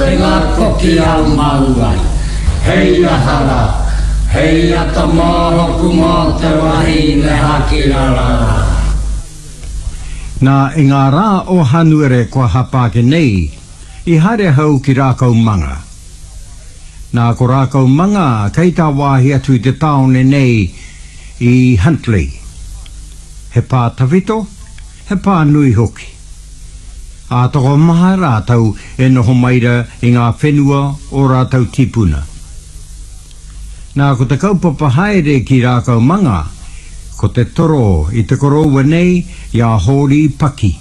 Kore ngā koki a māua. Hei aha rā, hei ata mōhoku mō te wahine hakirara rā. Nā, i ngā rā o Hanuere kua hapa ake nei, i haere ahau ki Rākaumanga. Nā, ko Rākaumanga kei tāwāhi atu i te tāone nei i Huntly. He pā tawhito, he pā nui hoki. Ā, tokomaha rātou e noho mai ra i ngā whenua o rātou tīpuna. Nā, ko te kaupapa haere ki Rākaumanga, ko te toro i te koroua nei i a Hōri Paki.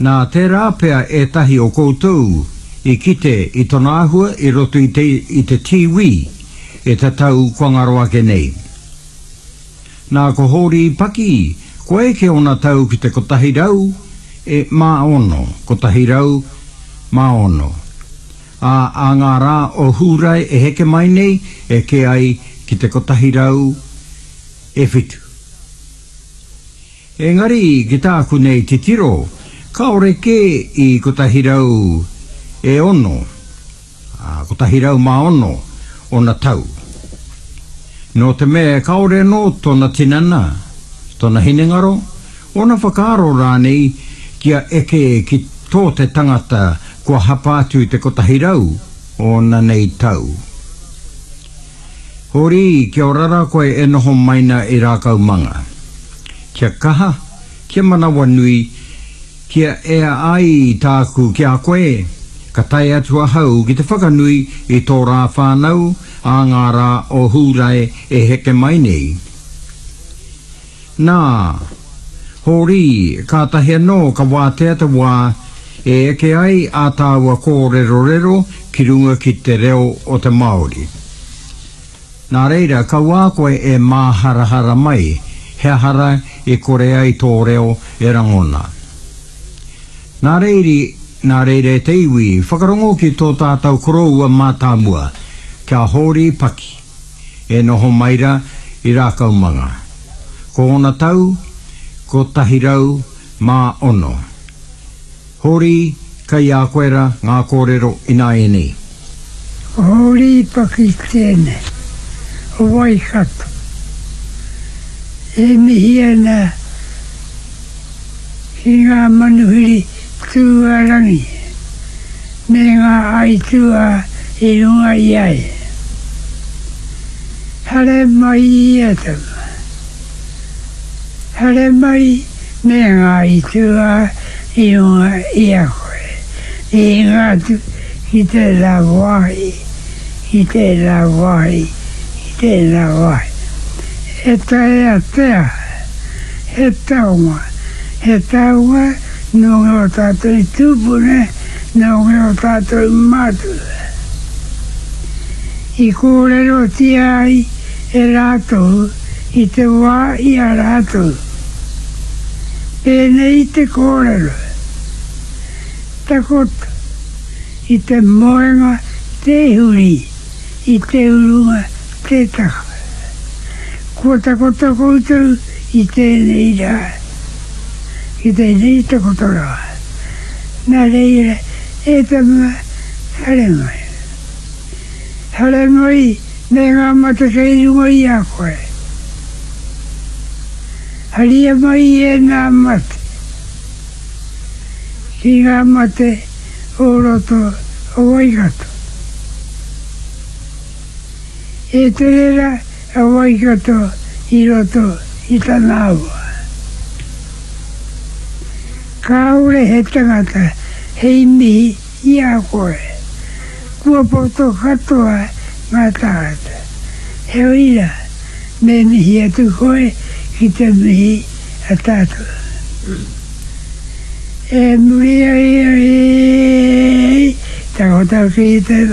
Nā, tērā pea ētahi o koutou i kite i tona āhua i roto i te, i te tīwī e te tau kua ngaro ake nei. Nā, ko Hōri Paki, kua eke ōna tau ki te 106, 106. Ā, ā ngā rā o Hūrae e heke mai nei, eke ai ki te 107. Engari, ki tāku nei titiro, kāore kē i 106, ā, 106 ōna tau. Nō te mea kāore anō tōna tinana, tōna hinengaro, ōna whakaaro rānei kia eke ki tō te tangata kua hapa atu i te 100 ōna nei tau. Hori, kia ora rā koe e noho mai na i Rākaumanga. Kia kaha, kia manawanui, kia ea ai tāku ki a koe, ka tae atu ahau ki te whakanui i tō rā whānau ā ngā rā o Hūrae e heke mai nei. Nā, Hōri, kātahi anō ka wātea te wā e eke ai ā tāua kōrerorero ki runga ki te reo o te Māori. Nā reira, kauā koe e māharahara mai he aha rā i kore ai tō reo e rangona. Nā reiri, nā reira e te iwi, whakarongo ki tō tātou koroua mātāmua, kia Hōri Paki. E noho mai ra i Rākaumanga. Ko ōna tau, 106. Hori, kei a koe ra ngā kōrero ināianei. Hori Paki tēnei, o Waikato. E mihi ana ki ngā manuhiri tūārangi me ngā aituā i runga i a ia. Haere mai ia tama. Haere mai me ngā aituā i runga i a koe. I hinga atu ki tērā wāhi, ki tērā wāhi, ki tērā wāhi. E taea te aha? He taonga, he taonga nō ngō tātou tūpuna, nō ngō tātou mātua. I kōrerotia ai e rātou i te wā i a rātou. Pēnei te kōrero, Takoto i te moenga tē huri, i te urunga tē taka. Kua takoto koutou i tēnei rā, i tēnei takotoranga. Nā reira, e tama, haere mai. Haere mai me ngā mata kei runga i a koe. Haria mai ēnā mate ki ngā mate o roto o Waikato. E tere ra a Waikato i roto i tana awa. Kāore he tangata hei mihi i a koe. Kua poto katoa ngā tāngata. Heoi rā, me mihi atu koe ki te mihi a tātou. E muri ai ai takoto ki te.